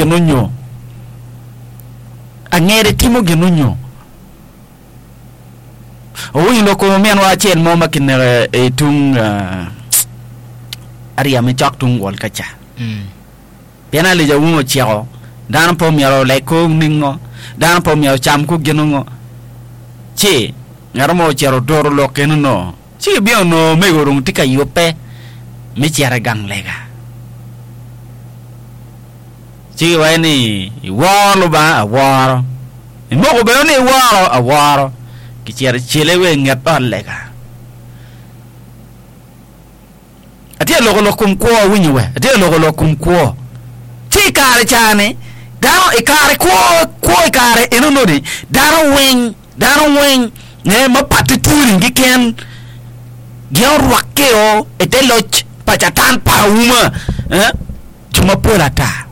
gin onyo. Angede timo gin onyo. Owinyo lok kom ominwa acel mo ma kineke i tung aryem cok tung wol ka ca. Pien Alija wun ociko, dano pe omyero oleg kor ningo, dano pe omyero ocam kor gin ongo. Ci ngat mo ocito oturo lok eno-nu, ci gibino onongo omego dong tye ka yubbe me cito i gang lega. Ci giwaco ni, Iworo Lubanga? Aworo. Imoko bene ni iworo? Aworo. Kicito icele wa i nget ot lega. Atye ka loko lok kom kwo, awinyo we? Atye ka loko lok kom kwo. Ci i kare ca-ni, dano i kare kwo, kwo i kare eno-ni, dano weng, dano weng ne ma patte twoni keken, gin orwakkeo i te loc pa Catan pa auma, eh, jo mapol ata.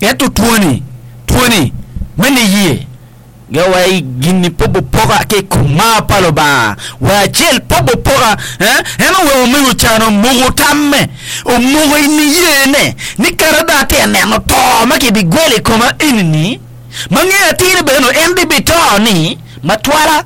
Ento twoni, twoni me niye. Ge wa i gin-ni pe obopoka ki i kom mar pa Lubanga wa acel pe obopoka. En oweko omego can omoko tamme, omoko i niyene ni kadi dong atye ka neno to ma kibigwelo i koma eni-ni, ma ngeyo atir ni bene en bibito-ni matwala,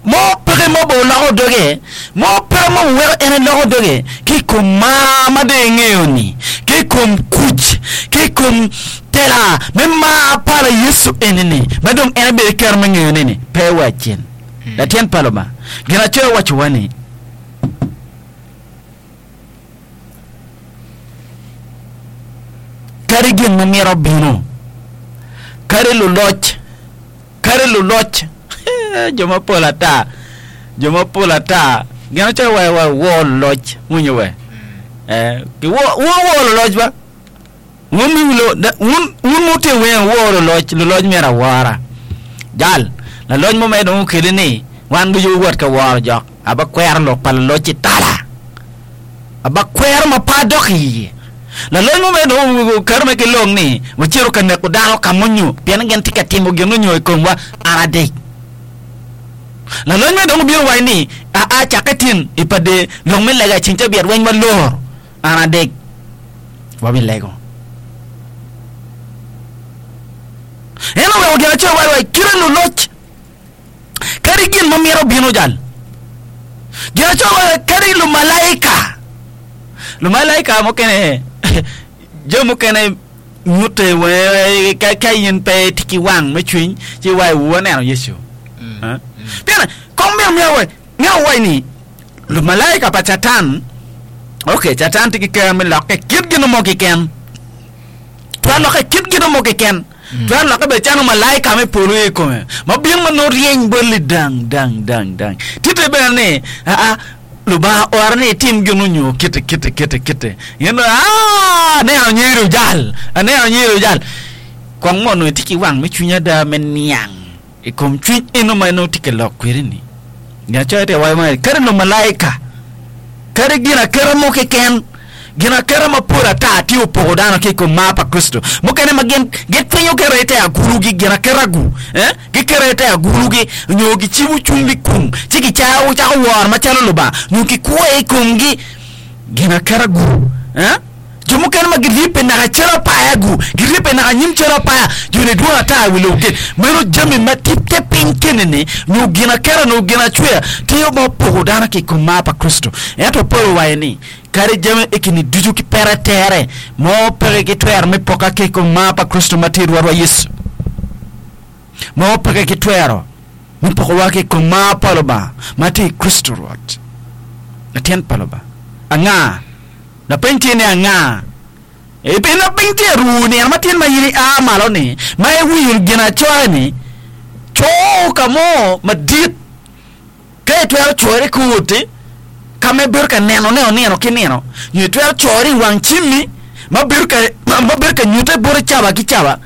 mo peke mo bene oloko doge, mo peke mo oweko en eloko doge ki i kom mar ma dong engeyo-ni, ki i kom kuc, ki i kom Tela me mar pa Yecu eni-ni, ma dong en ebedo ki kero me ngeyone-ni, pe wa cen. Latin pa Lubanga. Ginacoya wacowa ni, Kadi gin ma mito bino, kadi luloc, kadi luloc, jo mapol ata, jo mapol ata, ginacoya waco wa wor luloc, winyo we? Eh, wor wor luloc ba. Wun wun ma wutye weng wuwor luloc, luloc myero awora. Jal, laloc mo mere dong okeli ni wan ducu wuwot ka woro jok, abakwero lok pa laloc-ci tala. Abakwero ma pe adok iye. Laloc mo mere dong oketo mere ki long ni wacito ka neko dano ka mo nyo pien gin tye ka timo gin onyo i komwa, an adec. Laloc mere dong obino owaco ni aa cakke tin i pa der lok me lega i ceng cabit weng walor. An adek wabilego. En oweko gin acel waco wa kite luloc kadi gin ma mito bino jal. Gin acel waco kadi lumalaika. Lumalaika mukene jo mukene nyute wee ka, ka in pe itye ki wang me cwiny ci iwaco wu aneno Yecu. Mm. Pien kong myero myero wa myero wawac ni Lumalaika pa Catan, ok, Catan tye ki ker me lokke kit gin mo keken. Twero lokke kit gin mo keken. Twero lokke bene calo malaika me polo i kome, ma bino ma nongo ryeny bot lidang dang dang dang. Tite bene ni, aa, Lubanga ore ni itim gin onyo kite kite kite kite. In dong, aa, aneno nyeri ojal, aneno nyeri ojal. Kong mo onongo itye ki wang me cwiny ada me niang. I kom cwiny eno ma en tye ka lok kwede-ni, Ginacoya tye ka waco ni kadi lumalaika, kadi ginaketa mo keken, ginaketa mapol ata tye opoko dano ki i kom mar pa Kricito. Mukene ma gin gitwinyo keto i te agulugi, ginaketa-gu, eh, giketo i te agulugi, nyo gicibo cwinygi kum, ci gicako cako woro macalo Lubanga, nyo gikwoyo i komgi, ginaketa-gu, eh. Jo mukene ma giryebbe naka cal apaya-gu, giryebbe naka nyim cal apaya, jo-ni dwong ata i wi lobo keni. Meno jami ma tye te piny keni-ni, nyo ginaketa nyo ginacweya, tye ma opoko dano ki i kom mar pa Kricito. Ento Paulo owaco ni, Kadi jami eki-ni ducu ki pete tere, mo peke ki twero me poka ki i kom mar pa Kricito ma tye i Rwotwa Yecu. Mo peke ki twero me pokowa ki i kom mar pa Lubanga ma tye i Kricito Rwot. Latin pa Lubanga. Anga? Lapeny tye ni anga? E Pien lapeny tye aru nino ma tyen ma in ia malo ni ma iwinyo ginacoya-ni, co ka mo madit ka itwero coyone i kor oti ka ma ibedo ka nenone nino ki nino, nyo itwero coyone i wang cimmi ma bedo ka ma bedo ka nyutte boti cawa ki cawa,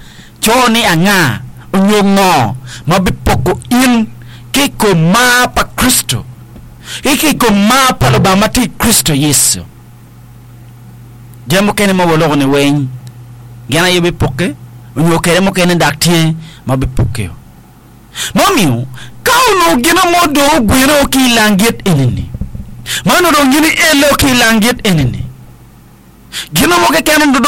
co ni anga onyo ngo ma bipoko in ki i kom mar pa Kricito. Ki i kom mar pa Lubanga ma tye i Kricito Yecu. Jami mukene ma waloko ni weng gin aye bipokke onyo kede mukene dok tye ma bipokkeo. Ma omiyo ka onongo gin mo dong ogweno ki i langit eni-ni, ma onongo dong gin ielo ki i langit eni-ni, gin mo keken onongo dong.